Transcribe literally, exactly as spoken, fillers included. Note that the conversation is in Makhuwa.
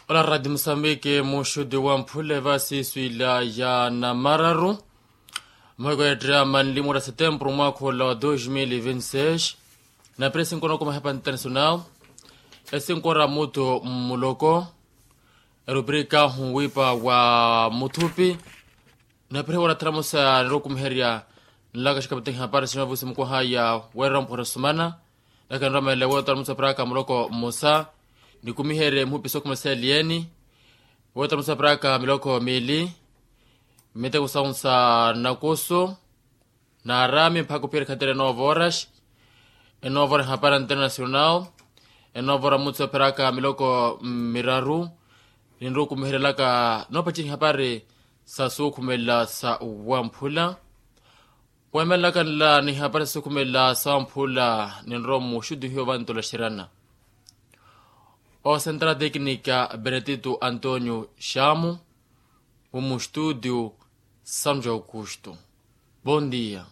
Ola radi musambiki muxuti wa mphule vasi swila ya namararu. Mweko ya drama nlimura setempuru mwakhola wa dos mil vinti seis. Napire sinkora okuma hepa internasional. Esinkora mutu mmuloko. Eruprika hunwipa wa muthupi. Napire warathara musa nirokumiherya nlaka xikapiteni hapari sinovusi mukwaha ya werera mpuhera sumana. Nakanramele wetara musa praka muloko musa. Nikumiherye mhupi sokhuma seliyeni. Wetara musa praka miloko mili. Miteko saunsa nakusu. Naarami mpakha ophiyerya khatira enovo horas. Enovo horas hapari internasional. Enovo horas mutsu epheraka miloko miraru. Ninrukumiheryelaka noopacini hapari sa suukhumela sa wamphula. Weemelelaka nla ni hapari sa suukhumela sa wamphula ninrowa muxuti hiyo vantola xirana. Osentara teknika benetito antonio xamu. Omuxtudio sanjo aukuxto. Bon dia.